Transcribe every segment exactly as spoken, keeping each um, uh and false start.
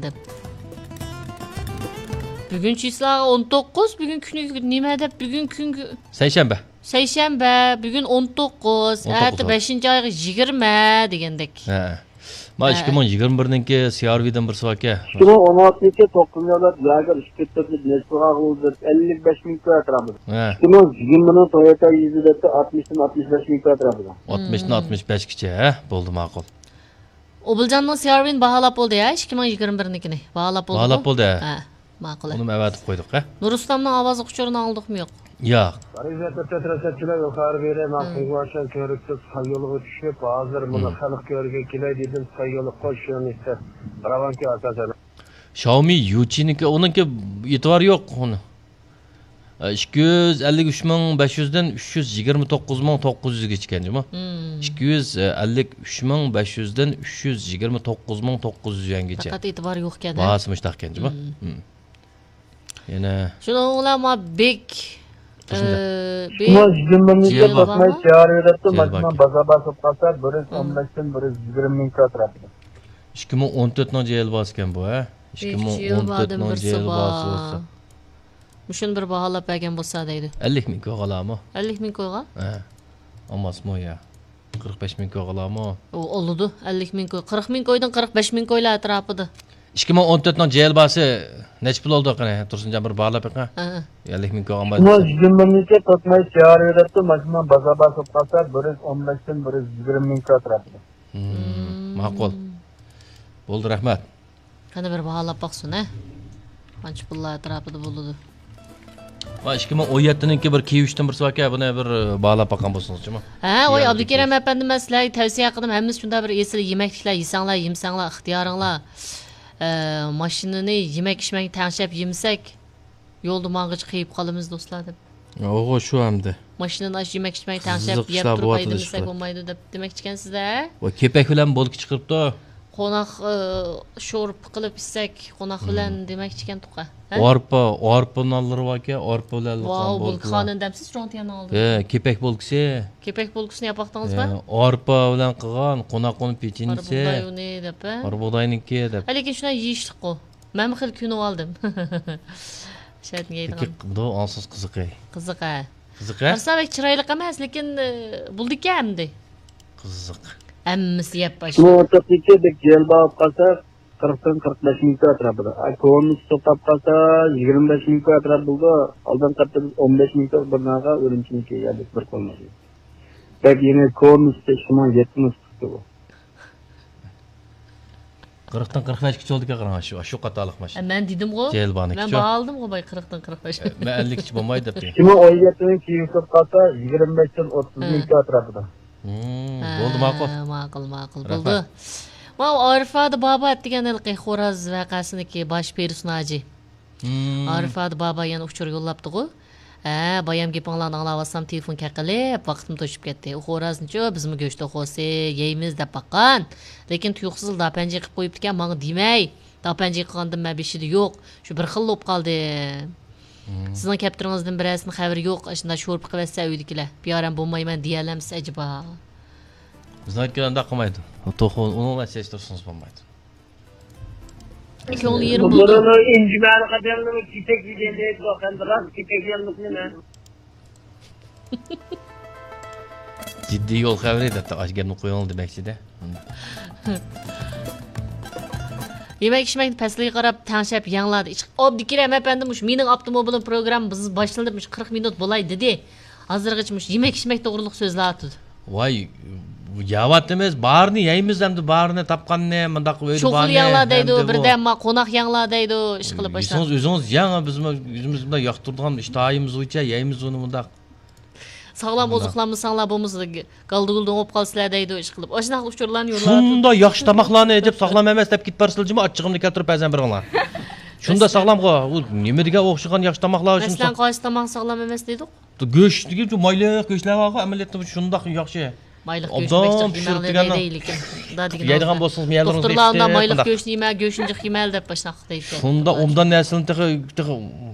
دەپ. بۈگۈن چىسلا ئون توققۇز، بۈگۈن كۈنى نېمە دەپ، بۈگۈن كۈنگە سەيشەنبە. سەيشەنبە، بۈگۈن ئون توققۇز، ئون توققۇز ئەتە بەشىنچى ئايغا يىگىرمە دېگەندەك. ھە. ما ھە. ئىككى مىڭ يىگىرمە بىرنىڭكى سىئارۋىدىن بىرسى باركەن. ئىككى مىڭ ئون ئالتىنچى توققۇزىنچى ئايدا ياگېر ئىككى تۆتلۈك نەچچە بولغان، ئەللىك بەش مىڭ كىلو ئەتراپىدا. ھە. ئىككى مىڭ يىگىرمىنىڭ تويوتا يۈزى دەپتۇ، ئاتمىشتىن ئاتمىش بەش مىڭ كىلو ئەتراپىدا. ئاتمىشتىن ئاتمىش بەشكىچە، ھە؟ بولدى، ماقۇل. ئوبۇلجاننىڭ سىئارۋىنى باھالاپ بولدى، ھە، ئىككى مىڭ يىگىرمە بىرنىڭكىنى باھالاپ بولدى. باھالاپ بولدى، ھە. ھە، ماقۇل. ئۇنىمۇ ئەۋەتىپ قويدۇق، ھە. نۇرۇسلامنىڭ ئاۋازلىق ئۇچۇرىنى ئاڭلىدۇقمۇ يوق؟ ياق. ئەرزىيەت ئۆتەترەسەتچىلەر يۇقىرى بېرى مەن قىلغۇچان كۆرۈكتە ساي يولىغا چۈشۈپ، ھازىر مۇنى خەلق كۆرگىلى كېلەي دېدىم، ساي يولى قوش يۆنىلىشتە راۋانكى ئاساسەن. شاۋمى يۇچىنىڭكى، ئۇنىڭكى ئېتىبارى يوق، ئۇنى. ئىككى يۈز ئەللىك ئۈچ مىڭ بەش يۈزدىن ئۈچ يۈز يىگىرمە توققۇز مىڭ توققۇز يۈزگىچە ئىكەن جۇمۇ. مم. ئىككى يۈز ئەللىك ئۈچ مىڭ بەش يۈزدىن ئۈچ يۈز يىگىرمە توققۇز مىڭ توققۇز يۈز يۈەنگىچە. پەقەت ئېتىبار يوق ئىكەن، ھە؟ باھاسى مۇشتاق ئىكەن جۇمۇ. مم. مم. يەنە شۇنىڭ بىلەن ما بېك، تۇرسۇن ئە، بېك شۇڭا يىگىرمە مىڭ جىل بارمۇ؟ تەقمەي سىيارى دەپتۇ، جىل ماشىنا باركەن. بازار باسىپ قالسا، بىر يۈز ئون بەشتىن بىر يۈز يىگىرمە مىڭ كىلو ئەتراپىدا. ئىككى مىڭ ئون تۆتنىڭ جىل باسى ئىكەن بۇ، ھە؟ بېك ئىككى مىڭ ئون تۆتنىڭ جىل بارسى بولسا. مۇشۇنى بىر باھالاپ بەرگەن بولسا دەيدۇ. ئەللىك مىڭ كويغا ئالامۇ؟ ئەللىك مىڭ كويغا؟ ھە. ئالماسمۇ يا؟ قىرىق بەش مىڭ كويغا ئالامۇ؟ ئۇ ئالىدۇ، ئەللىك مىڭ كوي. قىرىق مىڭ كويدىن قىرىق بەش مىڭ كويلار ئەتراپىدا. ئىككى مىڭ ئون تۆتنىڭ جىل باسى نەچچە پۇل بولدى قېنى؟ تۇرسۇنجان بىر باھالاپ بېقىڭ. ھە، ھە. ئەللىك مىڭ كويغا ئالمايدۇ. شۇڭا يىگىرمە مىڭ تۆت مىڭ سىيارى دەپتۇ، ماشىنا بازار باسىپ قالسا، بىر يۈز ئون بەشتىن بىر يۈز يىگىرمە مىڭ كوي ئەتراپىدا. مم، ماقۇل. بولدى، رەھمەت. قېنى بىر باھالاپ باقسۇن، ھە؟ قانچە پۇللار ئەتراپىدا بولىدۇ؟ ۋاي، ئىككى مىڭ ئون يەتتىنىڭكى بىر كىيىۋ ئۈچتىن بىرسى باركەن، بۇنى بىر باھالاپ باققان بولسىڭىزچۇما؟ ھە، ۋاي، ئابدۇكېرىم ئەپەندىم، مەن سىلەرگە تەۋسىيە قىلدىم، ھەممىسى شۇنداق بىر ئېسىل يېمەكلىكلەر يېسەڭلار، يېمىسەڭلار، ئىختىيارىڭلار. ئە، ماشىنىنى يېمەك ئىچمەك تەڭشەپ يېمىسەك، يولدا ماڭغىچە قېيىپ قالىمىز، دوستلار، دەپ. ئوغۇ، شۇ ئەمدى. ماشىنىنى ئاشۇ يېمەك ئىچمەك تەڭشەپ، قىزىق يەپ ئىشلار تۇرۇپ بولۇۋاتىدۇ ھەيدىمىسەك شۇ. بولمايدۇ، دەپ دېمەكچىكەنسىز-دە. ۋاي، كېپەك بىلەن بولكا چىقىرىپتۇ. قوناق، ئى، شورپا قىلىپ ئىچسەك، قوناق بىلەن دېمەكچىكەن تۇقا. ھە؟ ئارپا، ئارپا نانلىرى باركەن، ئارپا بىلەن قىلغان ۋاۋ، بولكىلار. بولكا خانىم دەمسىز، چوڭ تىياننىڭ ئالدىدا. ھە، كېپەك بولكىسى. كېپەك بولكىسىنى ياپ باقتىڭىزمۇ؟ ھە، ئارپا بىلەن قىلغان، قوناق ئۇنى قارا پېچىنىسى. بۇغداي ئۇنى دەپ، ھە؟ قارا بۇغداينىڭكى دەپ. ھە، لېكىن شۇنداق يېيىشلىققۇ. مەنمۇ خېلى كۆنۈۋالدىم. شەتنى يەيدىغان. لېكىن بۇ ئاڭسىز قىزىق ئەي. قىزىق، ھە. قىزىق، ھە؟ قارىسام بەك چىرايلىق ئەمەس، لېكىن، ئى، بولىدىكەن ئەمدى. قىزىق. ھەممىسى يەپ باشلىدى. شۇنىڭ ئوتتۇرىسىدىكى بەك جەلپ ئاپ قالسا، قىرىقتىن قىرىق بەش مىڭ كوي ئەتراپىدا. ئا، كونىسى توختاپ قالسا، يىگىرمە بەش مىڭ كوي ئەتراپ بولىدۇ. ئالدىنقى ھەپتىدە بىز ئون بەش مىڭ كوي بىر ناغا ئۈرۈمچىنىڭكى يەردىكى بىر قولنى. بەك يېڭى كونىسى ئىككى مىڭ يەتتە نۇسخىسى بۇ. قىرىقتىن قىرىق بەشكىچە بولىدىكەن، قاراڭ، شۇ، شۇ قاتارلىق ماشىنا. ئە، مەن دېدىمغۇ. جەلبانىكىچە. مەن باھالىدىمغۇ باي، قىرىقتىن قىرىق بەش. ئە، مەن ئەللىككىچە بولمايدۇ دەپتىم. ئىككى مىڭ ئون يەتتىنىڭ كېيىن قالسا، يىگىرمە بەشتىن ئوتتۇز مىڭ كوي ئەتراپىدا. ھىم، ھە، بولدى، ماقۇل. ماقۇل، ماقۇل، رەھمەت. بولدى. ماۋۇ ئارىفادە بابا ئەتىگەن ھېلىقى خوراز ۋەقەسىنىڭكى باش پېرسوناژى. ھىم. ئارىفادە بابا يەنە ئۇچۇر يوللاپتىغۇ. ھە، بايام گېپىڭلارنى ئاڭلاۋاتسام، تېلېفون كەقىلىپ، ۋاقتىم توشۇپ كەتتى. ئۇ خورازنىچۇ، بىزمۇ گۆش توخۇسى يەيمىز دەپ باققان. لېكىن تۇيۇقسىزلا داپەنجى قىلىپ قويۇپتىكەن، ماڭا دېمەي. داپەنجى قىلغاندىن مەن بېشىدا يوق. شۇ بىر خىللا بولۇپ قالدىم. ھىم. سىزنىڭ كەپتىرىڭىزدىن بىرەرسىنىڭ خەۋىرى يوق. ئاشۇنداق شورپا قىلىۋەتسە ئۆيدىكىلەر. بىئارام بولمايمەن دېيەلەمسىز ئەجەبا؟ بىزنىڭكىلەر ئۇنداق قىلمايدۇ. توخۇ، ئۇنىڭ بىلەن سېلىشتۇرسىڭىز بولمايدۇ. كۆڭلى يېرىم بولدى. بۇلارنىڭ ئىنجىمەنى قاچانلىمۇ كېپەك يېگەن دەيدۇ، ئەمدى راست كېپەك يەملىك نېمە؟ جىددىي يول خەۋىرى دەپتۇ، ئاشۇ گەپنى قويۇڭ دېمەكچىدە. يېمەك ئىچمەكنى پەسلىگە قاراپ تەڭشەپ يەڭلار. ئابدۇكېرىم ئەپەندى مۇشۇ مېنىڭ ئاپتوموبىلىم پروگرامما بىز باشلىنىپ مۇشۇ قىرىق مىنۇت بولاي دېدى. ھازىرغىچە مۇشۇ يېمەك ئىچمەك توغرۇلۇق سۆزلەۋاتىدۇ. ۋاي، يەۋاتىمىز، بارىنى يەيمىز ئەمدى، بارىنى تاپقاننى، مۇنداق ئۆيدە شوخلا بارنى يەڭلار دەيدۇ، ئەمدى بۇ. بىردەممۇ قوناق يەڭلار دەيدۇ، ئىشقىلىپ ئاشۇنداق. يېسىڭىز ئۆزىڭىز يەڭ، بىزمۇ ئۆزىمىز بۇنداق ياقتۇرىدىغان ئىشتىھايىمىز بويىچە يەيمىز ئۇنى مۇنداق. ساغلام مۇنداق. ئوزۇقلانمىساڭلار بولمىسا، گالدىغۇلدىڭ بولۇپ قالىسىلەر دەيدۇ، ئىشقىلىپ. ئاشۇنداق ئۇچۇرلارنى يوللاۋاتىدۇ. شۇنداق ياخشى تاماقلارنى ئېتىپ ساغلام ئەمەس دەپ كېتىپ بارسىلە جۇمۇ، ئاچچىقىمنى كەلتۈرۈپ بەزەن بېرىڭلار. شۇنداق ساغلامغۇ، ئۇ نېمە دېگەن ئوخشىغان ياخشى تاماقلار شۇنداق. مەسىلەن، قايسى تاماق ساغلام ئەمەس دېدۇق؟ گۆش دېگەن شۇ مايلىق گۆشلەر بارغۇ، ئەمەلىيەتتە شۇنداق ياخشى. مايلىق گۆشنى بەك ئوبدان جىق يېمەڭلار دەيدۇ. يەيدىغان بولسىڭىز مېيەلىرىڭىز دوختۇرلار ئۇنداق مايلىق گۆشنى يېمە، گۆشنى جىق يېمە دەپ ئاشۇنداق دەيدۇ. شۇنداق ئوبدان نەرسىلەرنى تېخى، تېخى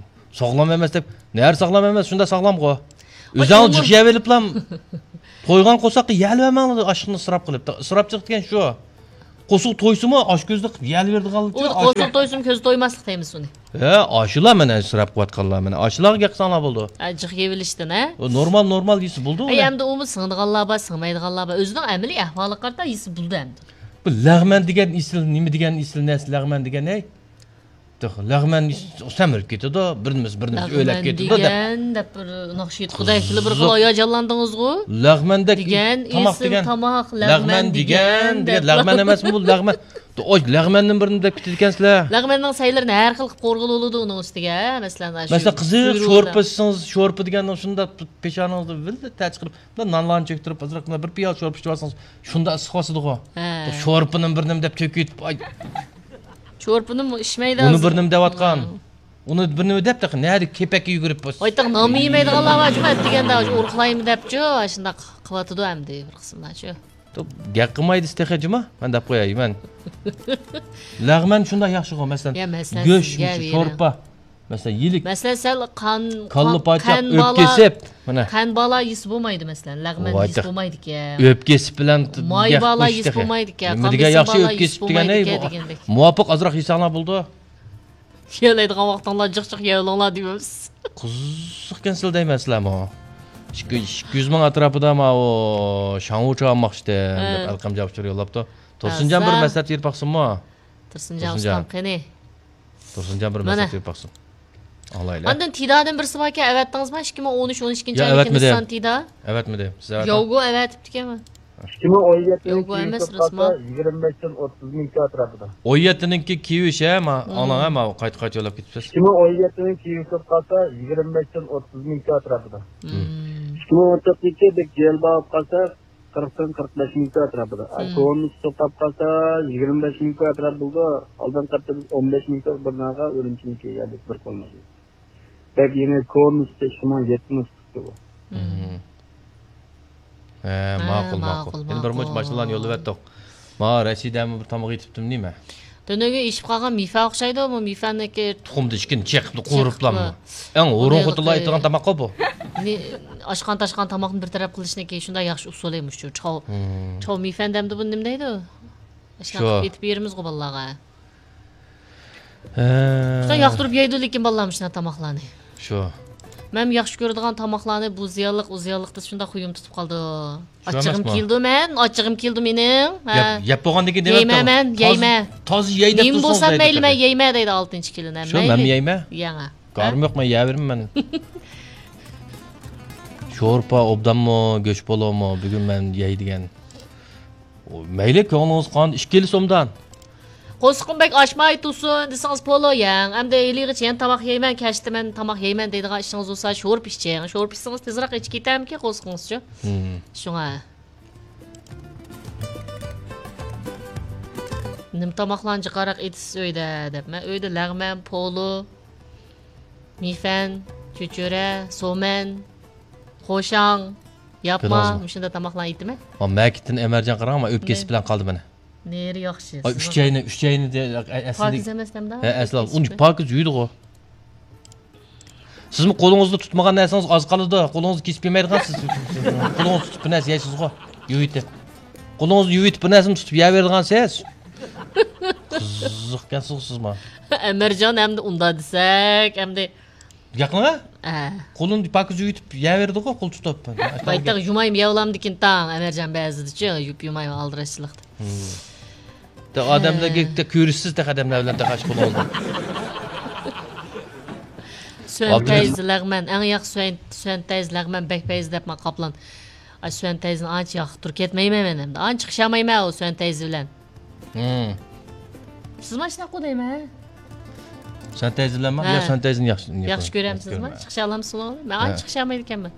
ساغلام ئەمەس دەپ، نەرە ساغلام ئەمەس، شۇنداق ساغلامغۇ. ئۆزۈڭ جىق يەۋېلىپلا تويغان قورساققا يەۋەرمەڭلار، ئاشلىقنى ئىسراپ قىلىپ. ئىسراپچىلىق دېگەن شۇ. قورسىقى تويسىمۇ ئاشۇ كۆزدە قىلىپ يەلىۋېرىدىغانلىقچە. ئۇ ئاشۇ قورسىقى تويسىمۇ كۆزى تويماسلىق دەيمىز ئۇنى. ھە، ئاشۇلا مانا ئىسراپ قىلىۋاتقانلار، مانا ئاشۇلارغا گەپ قىلساڭلار بولىدۇ. ھە، جىق يەۋېلىشتىن، ھە؟ ئۇ نورمال، نورمال يېسە بولىدۇ ئەي، ئۇنى. ئەمدى ئۇمۇ سىڭىدىغانلار بار، سىڭمەيدىغانلار بار. ئۆزىنىڭ ئەمەلىي ئەھۋالىغا قارىتا يېسە بولىدۇ ئەمدى. بۇ لەغمەن دېگەن ئېسىل، نېمە دېگەن ئېسىل نەرسە لەغمەن دېگەن، ھەي؟ تۇخ، لەغمەن سەمرىپ كېتىدۇ، بىر نېمىسى، بىر نېمىسى ئۆلەپ كېتىدۇ دەپ. لەغمەن دېگەن دەپ بىر ناخشا ئېيتقۇدەكلا بىر خىل ھاياجانلاندىڭىزغۇ. لەغمەندەك دېگەن تاماق ئېسىل دېگەن. تاماق، لەغمەن لەغمەن دېگەن دېگەن دەپ. لەغمەن ئەمەسمۇ بۇ، لەغمەن؟ ئاي، لەغمەننى بىر نېمە دەپ كېتىدىكەنسىلەر. لەغمەننىڭ سەيلىرىنى ھەر خىل قىلىپ قورغىلى بولىدۇ ئۇنىڭ ئۈستىگە، مەسىلەن، ئاشۇ مەسىلەن، قىزىق سۈرۈۋېلىپ. شورپا ئىچسىڭىز، شورپا دېگەندىن شۇنداق پېشانىڭىزدا ۋىللا تەر چىقىرىپ، بۇنداق نانلارنى چۆكتۈرۈپ، ئازراق بۇنداق بىر پىيالە شورپا ئىچىۋالسىڭىز، شۇنداق ئىسسىق باسىدىغۇ. ھە. شورپىنى بىر نېمە دەپ تۆكۈۋېتىپ، ئاي. شورپىنىمۇ ئىچمەيدۇ ئۇنى ھازىر. بىر نېمە دەۋاتقان. ھە. ئۇنى بىر نېمە دەپ، تېخى نەدە كېپەككە يۈگۈرۈپ بولسا. ۋاي، تېخى نانمۇ يېمەيدىغانلار بار جۇمۇ، ئەتىگەندە ئاشۇ ئۇرۇقلايمۇ دەپچۇ، ئاشۇنداق قىلىۋاتىدۇ ئەمدى بىر قىسىملارچۇ. توپ، گەپ قىلماي دېسە تېخى جۇمۇ، مەن دەپ قوياي، مەن. لەغمەن شۇنداق ياخشىغۇ، مەسىلەن، يا، مەسىلەن، گۆش، سىزگە مۇشۇ بېرىڭ. شورپا. مەسىلەن، يېلىك. مەسىلەن، سەل قان، كاللا قان، پاچاق، قان بالا، ئۆپكە سېپ. مانا. قان بالا يېسە بولمايدۇ، مەسىلەن، لەغمەن ۋاي يېسە تەق-، بولمايدىكەن. ئۆپكە سېپ بىلەن ماي بالا يېسە بولمايدىكەن. نېمە دېگەن ياخشى ئۆپكە سېپ دېگەن، ئەي، مۇۋاپىق ئازراق يېسەڭلار بولىدۇ. يەلەيدىغان ۋاقتىڭلار جىق جىق يەۋېلىڭلار دەيمىز. قىزىقكەنسىلەر دەيمەن سىلەرمۇ. ئىككى، ئىككى يۈز مىڭ ئەتراپىدا ماۋۇ شاڭۋۇچا ئالماقچى دەپ ھە. ئەلقەم جاپشۇر يوللاپتۇ. تۇرسۇنجان بىر مەسلىھەت بېرىپ باقسۇنمۇ؟ تۇرسۇنجان تۇرسۇنجان. ئۇستام قېنى؟ تۇرسۇنجان بىر مەسلىھەت بېرىپ باقسۇن. ئاڭلايلى. ئاندىن تىدادىن بىرسى باركەن، ئەۋەتتىڭىزمۇ؟ ئىككى مىڭ ئون ئۈچ، ئون ئىككىنچى يا، ئايدىكى ئەۋەتمىدىم. نىسسان تىدا. ئەۋەتمىدىم. سىز ئەۋەتمىدىڭىز؟ ياۋگو ئەۋەتىپتىكەنمۇ؟ ئىككى مىڭ ئون يەتتىنىڭ ياۋگو كېيىن ئەمەس، كىرىپ راسما. قالسا، يىگىرمە بەشتىن ئوتتۇز مىڭ ئەتراپىدا. ئون يەتتىنىڭكى كېيىن ھە، ما، مم. ئاڭلاڭ ھە، ما، قايتا قايتا يوللاپ كېتىپسىز. ئىككى مىڭ ئون يەتتىنىڭ كېيىن كىرىپ قالسا، يىگىرمە بەشتىن ئوتتۇز مىڭ ئەتراپىدا. مم. ئىككى مىڭ ئون توققۇزىنچى بىر جىيەن باغ قالسا، قىرىقتىن قىرىق بەش مىڭ ئەتراپىدا. ئا، مم. كونىسى توختاپ قالسا، يىگىرمە بەش مىڭ ئەتراپ بولىدۇ. ئالدىنقى ھەپتە بىز ئون بەش مىڭ بىر ناغا ئۈرۈمچىنىڭكى يەردە بىر قولنى. بەك يېڭى كونىسى ئىككى مىڭ يەتتە نۇسخىسى بۇ. مم. ھە، ھە، ماقۇل، ماقۇل، ماقۇل. يەنە بىر مۇنچە ماقۇل. ماشىنىلارنى يوللىۋەتتۇق. ما، رەشىدەمۇ بىر تاماق يېتىپتىمۇ نېمە؟ تۈنۈگۈن ئېشىپ قالغان مىفا ئوخشايدۇ، بۇ مىفانىڭكى. تۇخۇمدا ئىچكىنى چېقىپلا، قورۇپلامۇ؟ ئەڭ ھۇرۇن خوتۇنلار ئېتىدىغان تاماق بۇ. ئاشقان تاشقان تاماقنى بىر تەرەپ قىلىشنىڭكى شۇنداق ياخشى ئۇسۇلى مۇشۇ. چاۋ، مم. چاۋ مىفەن دەمدۇ بۇنى نېمە دەيدۇ؟ ئاشۇنداق شۇ. قىلىپ ئېتىپ بېرىمىزغۇ بالىلارغا. ھە. شۇنداق ياقتۇرۇپ يەيدۇ، لېكىن بالىلار مۇشۇنداق تاماقلارنى. شۇ. مەن ياخشى كۆرىدىغان تاماقلارنى بۇ زىيانلىق، ئۇ زىيانلىق دەپ شۇنداق خۇيۇم تۇتۇپ قالىدۇ. شۇ ئاچچىقىم ئەمەسمۇ؟ كېلىدۇ مەن، ئاچچىقىم كېلىدۇ مېنىڭ. ھە. يەپ، يەپ بولغاندىن كېيىن دېمەيمەن، يەيمەن، تازا، يەيمەن. تازا يەي دەپ نېمە تۇرسىڭىز بولسام يەيدۇ مەيلى، مەن تېخى. يەيمەن دەيدۇ ئالتىنچى كېلىن ھەم. شۇ، مەيلى. مەنمۇ يەيمەن. يەڭە. گارىم يوق، مەن يەۋېرىمەن. شورپا ئوبدانمۇ، گۆش پولۇمۇ، بۈگۈن مەن يەي دېگەن. مەيلى، كۆڭلىڭىز قانىدى، ئىككىلىسى ئوبدان. قورسىقىم بەك ئاچماي تۇرسۇن دېسىڭىز پولۇ يەڭ. ئەمدى ھېلىغىچە يەنە تاماق يەيمەن، كەچتە مەن تاماق يەيمەن دەيدىغان ئىشىڭىز بولسا، شورپا ئىچىڭ. شورپا ئىچسىڭىز تېزراق ئېچىپ كېتەرمىكىن قورسىقىڭىزچۇ؟ مم. شۇڭا. نېمە تاماقلارنى جىقراق ئېتىسىز ئۆيدە دەپ. مەن ئۆيدە لەغمەن، پولۇ، مىفەن، چۆچۈرە، سومەن، قوشاڭ، ياپما، بىلىڭىزمۇ؟ مۇشۇنداق تاماقلارنى ئېتىمەن. ما، مەكىتتىن ئەمەرجان قاراڭ، ما، ئۆپكە نېمە؟ ئېسىپ بىلەن قالدى مانا. نېرى ياخشى. ئاي، ئۈچەينى، ئۈچەينى دە-، ئە-، ئەسلىدە-، پاكىز ئەمەس دەمدا؟ ھە، ئەسلى ئۇنى پاكىز يۇيدىغۇ. سىزمۇ قولىڭىزدا تۇتمىغان نەرسىڭىز ئاز قالىدۇ. قولىڭىزدا كېسىپ يېمەيدىغان سىز. قولىڭىزدا تۇتۇپ بىر نەرسە يەيسىزغۇ. يۇيۇۋېتىپ. قولىڭىزدا يۇيۇۋېتىپ بىر نەرسىنى تۇتۇپ يەۋېرىدىغان سىز. قىزىقكەنسىزغۇ سىزمۇ. ئەمەرجان ئەمدى ئۇنداق دېسەك، ئەمدى گەپنىڭ؟ ھە. قولىنى پاكىز يۇيۇۋېتىپ يەۋېرىدىغۇ، قول تۇتۇپ. بايتاق يۇمايمۇ يەۋلامدىكىن تاڭ، ئەمەرجان بەزىدىچۇ، يۇپ يۇمايمۇ ئالدىراشچىلىقتا. ئادەملەرگە كۆرۈشسىز تېخى ئادەملەر بىلەن تېخى ئاشۇ قولىڭىزدا. سۈەن تەيزى لەغمەن، ئەڭ ياخشى سۈەن، سۈەن تەيزى لەغمەن، بەك پەيزى دەپمە قاپلان. ئاي، سۈەن تەيزىنى ئانچە ياقتۇرۇپ كەتمەيمەن مەن ئەمدى. ئانچە چىقىشالمايمەن ئۇ سۈەن تەيزى بىلەن. ھىم. سىز مانا شۇنداققۇ دەيمەن. سۈەن تەيزى بىلەنمۇ؟ ھە. يا سۈەن تەيزىنى ياخشى، ياخشى كۆرەمسىزمۇ؟ چىقىشالامسىزمۇ؟ مەن ئانچە چىقىشالمايدىكەنمەن.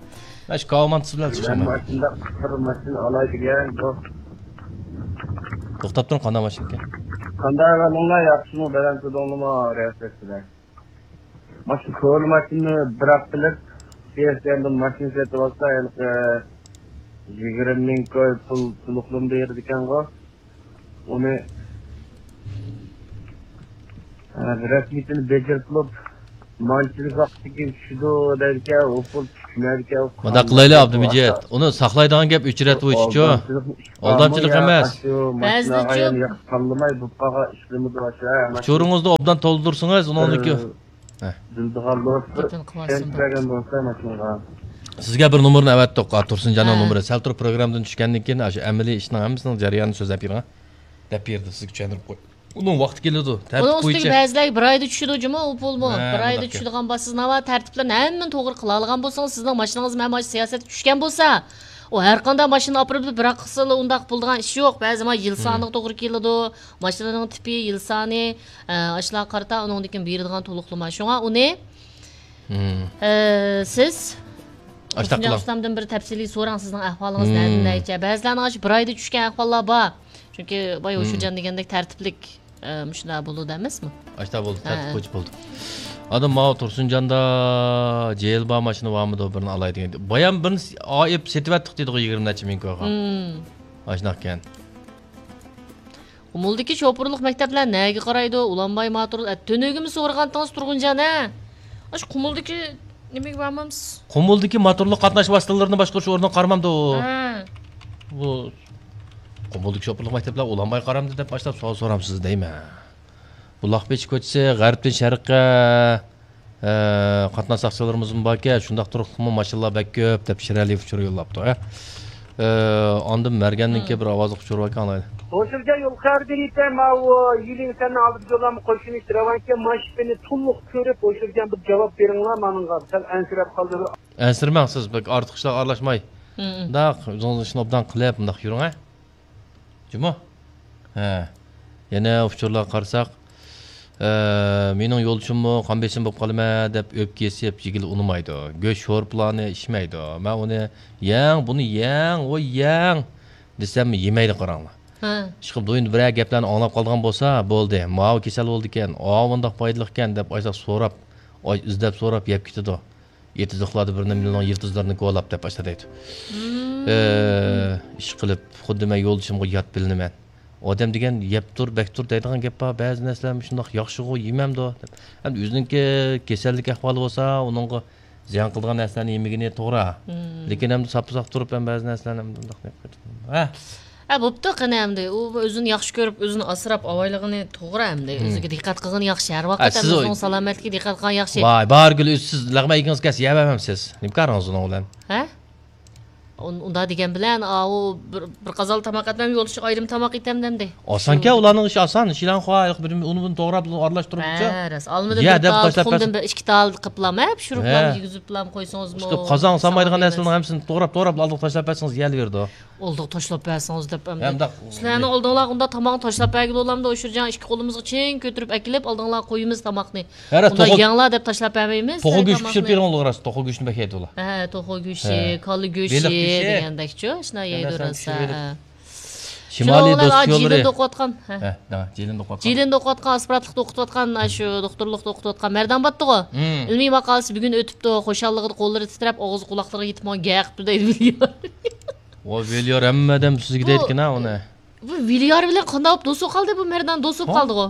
مەن شۇ كاۋاماندا سىز بىلەن چىقىشالمايمەن. مەن مۇشۇنداق قىسقا ماشىنا ئالاي دېگەن، بۇ. توختاپ تۇرۇڭ، قانداق ماشىنىكەن؟ قانداق ئەھۋالىڭلار، ياخشىمۇ، بەلەن تۇردۇڭلىمۇ، رىياسەت بىلەن؟ ماشىنا، كونا ماشىنىنى بىراق قىلىپ، سىيەسكەندىن ماشىنا سېتىۋالسا، ھېلىقى يىگىرمە مىڭ كوي پۇل تولۇقلىما بېرىدىكەنغۇ. ئۇنى، ئە، رەسمىيىتىنى بېجىرىپ بولۇپ، مانچىلىك ۋاقتىكىن چۈشىدۇ دەيدىكەن، ئۇ پۇل چۈشمەيدىكەن. مۇنداق قىلايلى، ئابدۇمىجىت. ئۇنى ساقلايدىغان گەپ ئۆچرەتىۋېتىشچۇ. ئالدامچىلىق ئىش بارمۇ؟ ئالدامچىلىق يا ئەمەس. ئاشۇ ماشىنىغا بەزىچۇ يەنە ياخشى تاللىماي بولۇپ قالغان ئىشلىرىمىز بار شۇ، ھە، ماشىنا. ئۇچۇرىڭىزنى ئوبدان تولدۇرسىڭىز، ئۇنىڭدىكى، بىر ھە. بىلىدىغان بولسا، بىر گېپىنى قىلىۋەتسۇن ئىشەنچ بۇ. بەرگەن بولسا ماشىنىغا. سىزگە بىر نومۇرنى ئەۋەتتۇق، تۇرسۇنجاننىڭ ھە. نومۇرى. سەل تۇرۇپ پروگراممىدىن چۈشكەندىن كېيىن، ئاشۇ ئەمەلىي ئىشنىڭ ھەممىسىنىڭ جەريانىنى سۆزلەپ بېرىڭ. دەپ بېرىدۇ، سىزگە چۈشەندۈرۈپ قوي. ئۇنىڭ ۋاقتى كېلىدۇ، تەرتىپ ئۇنىڭ ئۈستىگە بويىچە. بەزىلەرگە بىر ئايدا چۈشىدۇ جۇمۇ، ئۇ پۇلمۇ. ھە، بىر ئايدا مۇنداق گەپ. چۈشىدىغان بار. سىز ناۋا تەرتىپلەرنى ھەممىنى توغرا قىلالىغان بولسىڭىز، سىزنىڭ ماشىنىڭىز مەن مانا سىياسەتكە چۈشكەن بولسا، ئۇ ھەر قانداق ماشىنا ئاپىرىپ بىراق قىلسىلا ئۇنداق بولىدىغان ئىش يوق. بەزى ما يىل ھىم. سانىغا توغرا كېلىدۇ. ماشىنىنىڭ تىپى، يىل سانى، ئە، ئاشۇلارغا قارىتا ئۇنىڭدىن كېيىن بېرىدىغان تولۇقلىما. شۇڭا ئۇنى، ھىم. ئە، سىز ئاشتاق تۇرسۇنجان قىلىڭ. ئۇستامدىن بىر تەپسىلىي سوراڭ، سىزنىڭ ئەھۋالىڭىز ھىم. نەدىن نەچچە؟ بەزىلەرنىڭ ئاشۇ بىر ئايدا چۈشكەن ئەھۋاللار بار. چۈنكى باي ھوشۇرجان دېگەندەك تەرتىپلىك، ئە، مۇشۇنداق بولىدۇ ئەمەسمۇ؟ ئاشتا بولدى، ھە. تەرتىپ بويىچە بولدى. ئادەم ماۋۇ تۇرسۇنجاندا جېيىل بار ماشىنا بارمىدۇ، بىرنى ئالاي دېگەن. بايام بىرنى ئېلىپ سېتىۋەتتۇق دېدىغۇ يىگىرمە نەچچە مىڭ كويغا. ھىم. ئاشۇنداقكەن. قۇمۇلدىكى شوپۇرلۇق مەكتەپلەر نەگە قارايدۇ؟ ئۇلانباي ماتۇر، ئە، تۈنۈگۈنمۇ سورىغانتىڭىز تۇرغۇنجان، ھە؟ ئاشۇ قۇمۇلدىكى نېمىگە بارمامسىز؟ قۇمۇلدىكى ماتورلۇق قاتناش ۋاسىتىلىرىنى باشقۇرۇش ئورنىغا قارىمامدۇ؟ ھە. بۇ قۇمۇلدىكى شوپۇرلۇق مەكتەپلەر ئۇلانباي قارامدۇ دەپ باشلاپ سوئال سورامسىز دەيمەن. بۇ لاقپېچى كوچىسى غەربتىن شەرققە، ئە، قاتناش ساقچىلىرىمىزمۇ باركەن، شۇنداق تۇرۇقلۇقمۇ ماشىنىلار بەك كۆپ دەپ شىرئەلىيېۋ ئۇچۇر يوللاپتۇ، ھە. ئە، ئاندىن مەرگەندىن كېيىن بىر ئاۋازلىق ئۇچۇر باركەن، ئاڭلايلى. ھوشۇرجان يول خەۋىرى بېرىپتە، ماۋۇ يىلىڭ سەننىڭ ئالدىدا يوللانما قوشۇنى رەۋانكەن، ماشىنىنى تولۇق كۆرۈپ، ھوشۇرجان بىر جاۋاب بېرىڭلار مانىڭغا، سەل ئەنسىرەپ قالدى. ئەنسىرىمەڭ سىز، بەك ئارتۇق ئىشلارغا ئارىلاشماي. مۇنداق ئۆزىڭىز ئىشنى ئوبدان قىلىپ، مۇنداق يۈرۈڭ، ھە. جۇمۇ؟ ھە. يەنە ئۇچۇرلارغا قارىساق، ئە، مېنىڭ يولدىشىممۇ قان بېسىم بولۇپ قالىمەن دەپ ئۆپكە يېسىپ يېگىلى ئۇنىمايدۇ. گۆش شورپىلارنى ئىچمەيدۇ. مەن ئۇنى يەڭ، بۇنى يەڭ، ۋوي يەڭ دېسەممۇ يېمەيدۇ قاراڭلار. ھە. ئىشقىلىپ دويندا بىرەر گەپلەرنى ئاڭلاپ قالىدىغان بولسا، بولدى، ماۋۇ كېسەل بولىدىكەن، ئاۋۇ مۇنداق پايدىلىقكەن دەپ ئاشۇنداق سوراپ، ئاي، ئىزدەپ سوراپ يەپ كېتىدۇ. ئېتىزلىقلاردا بىر نېمىنىڭ يىلتىزلىرىنى كولاپ دەپ ئاشۇنداق دەيدۇ. مم. ئە، ئىشقىلىپ خۇددى مەن يولدىشىمغا يات بىلىنىمەن. ئادەم دېگەن يەپ تۇر، بەك تۇر دەيدىغان گەپ بار. بەزى نەرسىلەر مۇشۇنداق ياخشىغۇ يېمەمدۇ دەپ. ئەمدى ئۆزىنىڭكى كېسەللىك ئەھۋالى بولسا، ئۇنىڭغا زىيان قىلىدىغان نەرسىلەرنى يېمىگىنى توغرا. مم. لېكىن ئەمدى ساپپا ساق تۇرۇپ ھەم بەزى نەرسىلەرنى ئەمدى مۇنداق نېمە قىلىپ، ھە؟ ھە، بوپتۇ، قېنى ئەمدى. ئۇ ئۆزىنى ياخشى كۆرۈپ، ئۆزىنى ئاسراپ ئاۋايلىغىنى توغرا ئەمدى. مم. ئۆزىگە دىققەت قىلغىنى ياخشى. ھەر ۋاقىت ھە، ئەمدى سىز ئۆزىنىڭ سالامەتلىكىگە دىققەت قىلغان ياخشى. ۋاي، بارگۈل، ئۆزى سىز لەغمەن يېگىڭىز كەلسە يەۋەرمەمسىز؟ نېمە كارىڭىز ئۇنىڭ بىلەن؟ ھە؟ ئۇن-، ئۇنداق دېگەن بىلەن، ئاۋۇ بىر، بىر قازان تاماق ئەتمەم، يولدىشىغا ئايرىم تاماق ئېتەم دەمدى. ئاسانكەن، شۇ. ئۇلارنىڭ ئىشى ئاسان. شىلانخۇا، ھېلىقى بىر ئۇنى بۇنى توغراپ، ئارىلاشتۇرۇپ، ھە، راست. ئالمىدىن يە، بىر دەپ تال، تاشلاپ تۇخۇمدىن بەرسىڭىز. بىر ئىككى تال قىپلام، ھە، پىشۇرۇپلام، ھە. يېگۈزۈپلام قويسىڭىزمۇ، ئىشقىلىپ، قازان سالمايدىغان ساغلام نەرسىلەرنىڭ يېمەس. ھەممىسىنى توغراپ، توغراپ، ئالدىغا تاشلاپ بەرسىڭىز، يەلىۋېرىدۇ. ئالدىغا تاشلاپ بەرسىڭىز دەپ ئەمدى. ھە، مۇنداق. سىلەرنىڭ ئالدىڭلارغا ئۇنداق تاماقنى تاشلاپ بەرگىلى بولامدۇ؟ ئۇشۇرجان ئىككى قولىمىزغا چىڭ كۆتۈرۈپ ئەكېلىپ، ئالدىڭلارغا قويىمىز تاماقنى. ھە، راست، ئۇنداق توخۇ، يەڭلار دەپ تاشلاپ بەرمەيمىز، توخۇ ھە، گۆشى تاماقنى. پىشۇرۇپ بېرىڭلار، راست، توخۇ گۆشىنى بەك يەيدۇ ئۇلار. ھە، توخۇ گۆشى، ھە. كالا گۆشى بېلىق گۆشى. دېگەندەكچۇ، شۇنداق يەيدۇ ھەممە نەرسىنى راست، ھە، پىشۇرۇپ بېرىدۇ. ھە. شىمالىي شۇنىڭ بىلەن دوست يوللىرى. جىلىندا ئوقۇۋاتقان، ھە. ھە، دەڭ، جىلىندا ئوقۇۋاتقان. جىلىندا ئوقۇۋاتقان، ئاسپىرانتلىقتا ئوقۇتۇۋاتقان، ئاشۇ دوختۇرلۇقتا ئوقۇتۇۋاتقان مەردان باتتىغۇ. مم. ئىلمىي ماقالىسى بۈگۈن ئۆتۈپتۇ، خۇشاللىقىدا قوللىرى تىترەپ، ئاغزى قۇلاقلىرىغا يېتىپ ماڭا گەق قىپتۇ دەيدۇ. ۋاي، ۋىليار، ھەممە ئادەم سىزگە بۇ دەيدىكەن ھە ئۇنى. بۇ ۋىليار بىلەن قانداق بولۇپ دوست بولۇپ قالدى بۇ مەردان؟ دوست بولۇپ ھە؟ قالدىغۇ.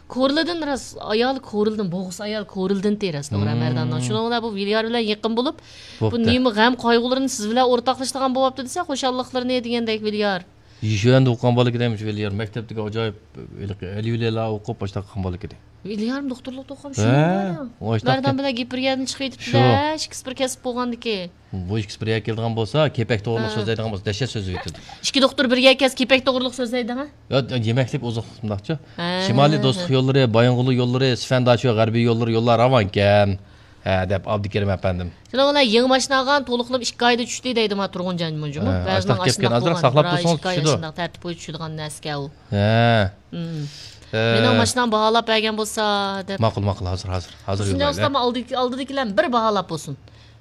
كورلىدىن راست، ئايالى كورلىدىن، بوغۇس ئايال كورلىدىن تېرەس توغرا مم. مەرداننىڭ. شۇنىڭ بىلەن بۇ ۋىليار بىلەن يېقىن بولۇپ، بۇ بوپتۇ. نېمە غەم قايغۇلىرىنى سىز بىلەن ئورتاقلىشىدىغان بولۇپتۇ دېسە، خۇشاللىقلىرىنى دېگەندەك ۋىليار. يىشۈەندە ئوقۇغان بالا ئىكەن، مۇشۇ ۋىليار. مەكتەپتىكى ئاجايىپ ھېلىقى ئەلىۋىلىيلار ئوقۇپ، ئاشۇنداق قىلغان بالا ئىكەن. ۋىليارمۇ دوختۇرلۇقتا ئوقۇغان شۇ ھە، يەردە. ئاشۇنداق مەردان ئىكەن. بىلەن گېپىرگەندىن چىقىۋېتىپتۇ شۇ. ھە، ئىككىسى بىر كەسىپ بولغاندىكى. بۇ ئىككىسى بىر يەرگە كېلىدىغان بولسا، كېپەك توغرىلىق ھە. سۆزلەيدىغان بولسا، دەھشەت سۆزلىۋېتىدۇ. ئىككى دوختۇر بىر يەرگە كەلسە، كېپەك توغرىلىق سۆزلەيدىغان. يا، يېمەكلىك ئوزۇقلۇق مۇنداقچۇ. ھە، شىمالىي ھە، دوستلۇق ھە. يوللىرى، بايىنغولى يوللىرى، سىفەنداشۇ غەربىي يوللىرى، يوللار راۋانكەن. ھە، دەپ ئابدۇكېرىم ئەپەندىم. شۇنىڭ بىلەن يېڭى ماشىنا ئالغان، تولۇقلىما ئىككى ئايدا چۈشتى دەيدۇ ما تۇرغۇنجان مۇنجۇمۇ. ھە، بەزىنىڭ ئاشۇنداق ئاشۇنداق گەپكەن، ئازراق بولغان، ساقلاپ بىر ئاي، تۇرسىڭىز ئىككى ئاي چۈشىدۇ. ئاشۇنداق تەرتىپ بويىچە چۈشىدىغان نەرسىكەن ئۇ. ھە. مم. ھە. مېنىڭ ماشىنام باھالاپ بەرگەن بولسا دەپ. ماقۇل، ماقۇل، ھازىر، ھازىر، ھازىر يوللايلى. ئۇستام ئالدىدىكى، ئالدىدىكىلەرنى بىر باھالاپ بولسۇن.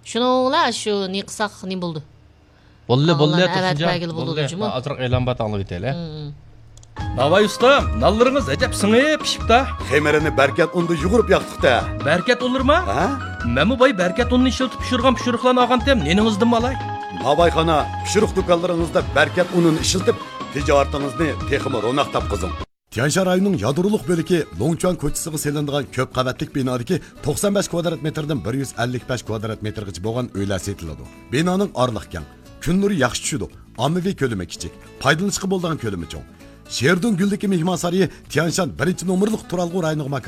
شۇنىڭ بىلەن شۇ نېمە قىلساق نېمە بولدى؟ بولدى، بولدى، ئاغىلارنى ئەۋەتىپ تۇرسۇنجان، بەرگىلى بولىدۇ بولدى. جۇمۇ. ئازراق ئېلان بار، ئاڭلاپ ئۆتەيلى. مم. ناۋاي ئۇستام، نانلىرىڭىز ئەجەب سىڭىپ پىشىپتا. خېمىرىنى بەركەت ئۇندا يۇغۇرۇپ ياقتۇقتا. بەركەت ئۇنلىرىما؟ ھە؟ مەنمۇ باي بەركەت ئۇنىنى ئىشلىتىپ پىشۇرغان پىشۇرۇقلارنى ئالغانتىم، نېنىڭىزدىنمۇ ئالاي؟ ناۋايخانا، پىشۇرۇق دۇكانلىرىڭىزدا بەركەت ئۇنىنى ئىشلىتىپ، تىجارىتىڭىزنى تېخىمۇ روناق تاپقۇزۇڭ. تيەنشان رايونىنىڭ يادرولۇق بۆلىكى لوڭچۇەن كوچىسىغا سېلىنىدىغان كۆپ قەۋەتلىك بىنادىكى توقسان بەش كۋادرات مېتىردىن بىر يۈز ئەللىك بەش كۋادرات مېتىرغىچە بولغان ئۆيلەر سېتىلىدۇ. بىنانىڭ ئارىلىقى كەڭ، كۈن نۇرى ياخشى چۈشىدۇ، ئاممىۋى كۆلىمى كىچىك، پايدىلىنىشقا بولىدىغان كۆلىمى چوڭ. شېردۇڭ گۈلدىكى مېھمانسارىيى تيەنشان بىرىنچى نومۇرلۇق تۇرالغۇ رايونىغا ماكان